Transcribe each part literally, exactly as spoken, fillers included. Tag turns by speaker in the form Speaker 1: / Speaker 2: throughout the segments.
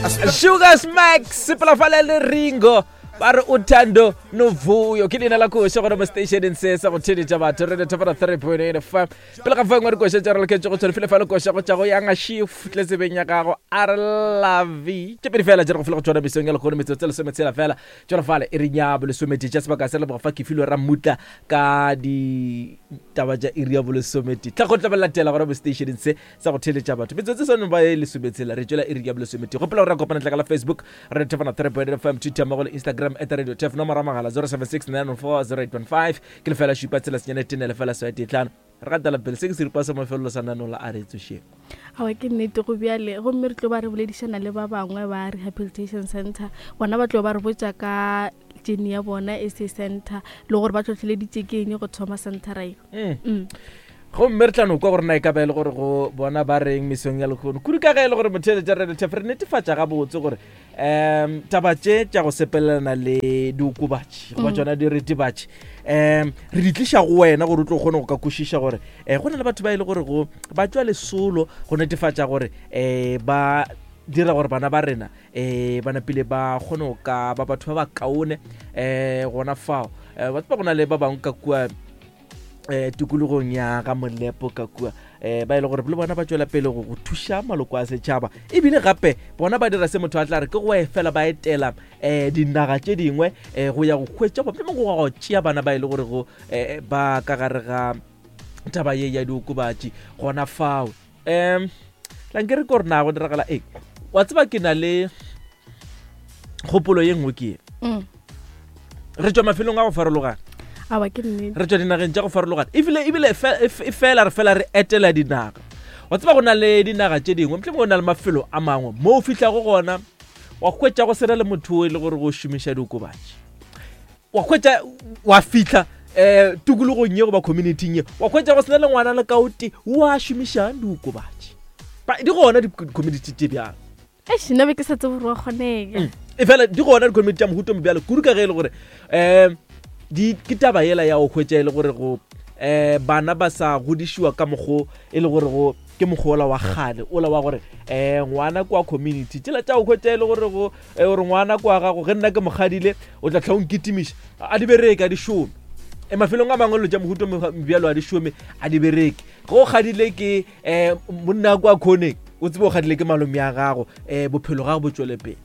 Speaker 1: Sugar Smacks sepela fale le Ringo ba re uthando novuyo ke leina la koša gona mo stationeng se sa go theletša batho re thofana three point eight fm pele ga fangwe dikoša tša re loketše go tshwane file fa le koša go tša go yanga shift tle tsebeng ya gago a re lavi tše pedi fela tše re go file go tšona mesong ya lekgono metsotso lesometshela fela tšona fale e re nyabo lesometee tša sebaka se leboga fa ke filwe rammutla ka ditaba tša iri ya bolesometee tla go tla ba latela gona mo stationeng se sa go theletša batho metsotso sone ba e lesometshela re tšwela iri ya bolesometee gopola gore re kopana tla ka la Facebook re thefana three point fm Twitter mmogo le Instagram at radio tef nomoro ya mogala zero seven six nine four zero eight one five ke lefela šupa tshela senyane tene lefela swae tee tlhano re gatela pele se ke seripa sa mafelelo sa nano la a re tsošeng.
Speaker 2: Awa ke nnete go bjale gomme re tlo ba re boledišana le ba bangwe ba rehabilitation center bona ba tlo ba re botša ka tšeni ya bona S A center le gore ba tlhotlheleditše ke eng go thoma centera e.
Speaker 1: Mm.
Speaker 2: Mm.
Speaker 1: Gomme re tla no kwa gore na e ka ba e le gore go bona ba reng mesong ya lekgono kudu ka ge e le gore motheeletša re re re netefatša gabotse gore um taba tše tša go sepelelana le diokobatši goba
Speaker 2: Mm.
Speaker 1: tšona diritibatši um re di tliša go wena gore o tlo kgone go ka kwešiša gore um go na le batho ba e le gore go ba tšwa lesolo go netefatša gore um ba dira gore bana ba rena um ba napile ba kgone go ka ba batho ba ba kaone um gona fao um batho ba go na le ba bangwe ka kua eh tikologong ya ga Molepo ka kua eh ba ile gore le bona ba tšwela pele go go thuša maloko a setšhaba ebile gape bona ba dira se motho a tla re ke go efela ba etela eh dinaga tše dingwe eh go ya go hwetša ba mohlomongwe go go tšea bana ba ile gore go eh ba ka gare ga taba ye ya diokobatši gona fao um tlanke re ko re na go diragala eng wa tseba ke na le kgopolo ye nngwe ke ye
Speaker 2: Mm.
Speaker 1: re tšwa mafelong a go farologana
Speaker 2: Awa ke nnete.
Speaker 1: re tšwa dinageng tša go farologana ebile ebile fe- e fe- e fela re fela re etela dinaga wa tseba go na le dinaga tše dingwe mohlomongwe go na le mafelo a mangwe mo o fihlago gona wa hwetša go sena le motho o e le gore go šomiša diokobatši wa hwetša wa fihla um tikologong ye goba communityng ye wa hwetša go sena le ngwana le kaote wa šomišang diokobatši Ba- di gona di-community tše bjalo.
Speaker 2: Eish, nna be ke sa tsebe gore wa kgonega.
Speaker 1: Mm. E fela di gona di-community tša mohuto mo bjalo kudu ka ge e le gore um di ke taba yela ya go hwetša e le gore go um bana ba sa godišiwa ka mokgo e le gore go ke mokgwa ola wa kgale ola wa gore um ngwana kwa community tsela tša go hwetša e le gore go eh, gore ngwana kwa gago ge nna ke mokgadile o tla tlha o nkitimiša a di bereke a di šome e mafelong a mangwe dilo tša mohuto bjalo a di šome a di bereke ge o kgadile ke um monna kwa khoneng o tsebe o kgadile ke malome ya gago um bophelo gago bo tšwele pele.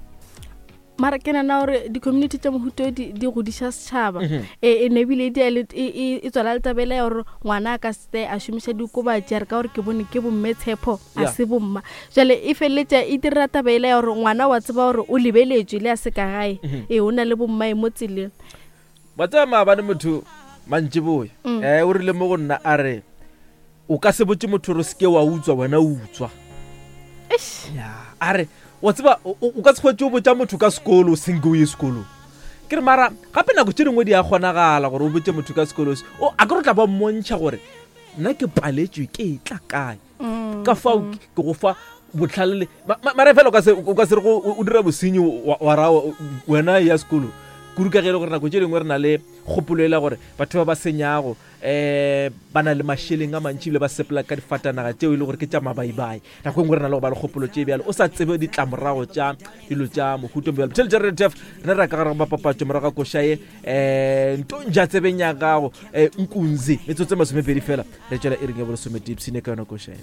Speaker 2: Mara ke nana gore di-community tša mohuto di, di godiša setšhaba.
Speaker 1: Mhm.
Speaker 2: E, e ne ebile di a le- e, e, e tswala le tabela ya gore ngwana a ka se a šomiša diokobatši a re ka gore ke bone ke bomme tshepo a
Speaker 1: Yeah.
Speaker 2: se bomma. Jwale e feleletša e dira tabela ya gore ngwana wa tseba gore o lebeletšwe le a se ka gae.
Speaker 1: Mhm.
Speaker 2: Ee, o na le bommae mo tseleng.
Speaker 1: Wa tseba maabane motho mantšiboya
Speaker 2: Mm.
Speaker 1: eh o rile mo go nna a re o ka se botse motho gore o seke wa utswa wena o utswa.
Speaker 2: Eish.
Speaker 1: Ya, a re wa tseba o o- o ka se hwetše o botša motho ka sekolo o senke o ye sekolong. Ke re mara gape nako tše dingwe di a kgonagala gore o botse motho ka sekolo se o a ke re o tla ba mmontšha gore nna ke paletswe ke e tla kae
Speaker 2: Mm,
Speaker 1: ka fao
Speaker 2: mm.
Speaker 1: ke ke go fa botlhale le ma- ma- mara fela o ka se o ka se re go o dira bosenyi wa wa ra wena ya sekolo kudu ka ge e le gore nako tše dingwe re na le kgopolo e la gore batho ba ba senyago um ba na le mašeleng a mantši ebile ba sepela ka difatanaga tšeo e le gore ke tša mabaibai nako e nngwe re na le go ba le kgopolo tše bjalo o sa tsebe ditlamorago tša dilo tša mohuto bjalo tšhele tša retf rena re ya ka gare ga mapapatšo morago ga koša ye um ntontša tsebeng ya gago um nkunzi metsotso e masomepedi fela re tšwela e reng ya bolesometee ipshine ka yona koša ye.